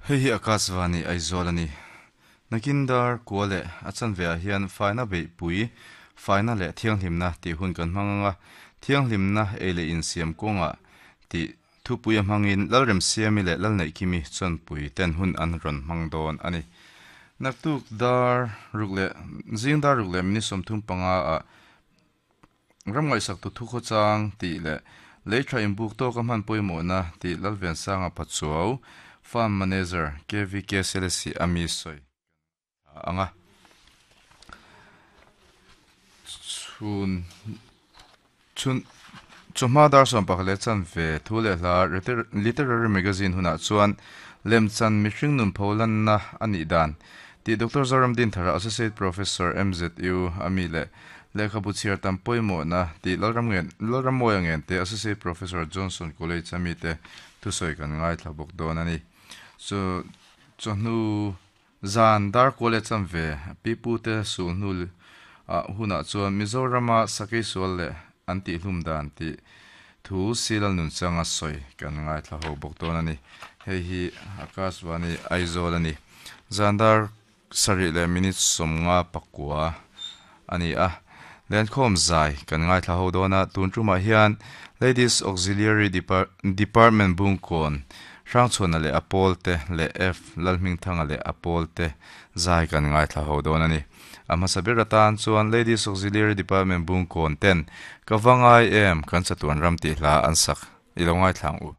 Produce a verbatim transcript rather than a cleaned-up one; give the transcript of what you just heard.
Hei hi Akashvani Aizawl a ni. Nakin dar kua leh a chanve ah hian faina beihpui, faina leh thianghlimna tih hun kan hmang anga, thianghlimna ei leh insiam kawngah tih thupui a hmangin Lalremsiami leh Lalneihkimi chuanpui ten hun an rawn hmang dawn a ni. Naktuk dar ruk leh zing dar ruk leh minute sawmthum panga ah ram ngaihsak tu thu khawchang tih leh lei tha inbuk tawka hman pawimawhna tih Lalvensanga Pachuau Farm Manager K V K Selesih ami sawi anga chhun chhun chawhma dar sawm pakhat leh chanve thu leh hla literary magazine hunah chuan lemchan mihring nun pholanna a nih dan tih Doctor Zoram Dinthara Associate Professor M Z U ami leh lehkhabu chhiar tam pawimawhna tih Lalram ngen Lalrammawia ngen te Associate Professor Johnson College ami te thusawi kan ngaithla bawk dawn a ni. Chu chawhnu zan dar kual leh chanve pipu te sulhnu ah hunah chuan Mizorama sakei sual leh an tihhlum dan tih thu Silal nunchanga sawi kan ngaithla ho bawk dawn a ni. Hei hi Akashvani Aizawl a ni. Zan dar sarih leh minute sawmnga pakua a ni a. Lenkhawm zai kan ngaithla ho dawn a, tun tumah hian Ladies Auxiliary Department Bungkawn Hrangchhuana leh a pawl te leh F Lalhmingthanga leh a pawl te zai kan ngaithla ho dawn a ni. A hmasa ber atan chuan Ladies Auxiliary Department Bungkawn ten ka va ngai em kan chatuan ram tih hla an sak i lo ngaithla ang u.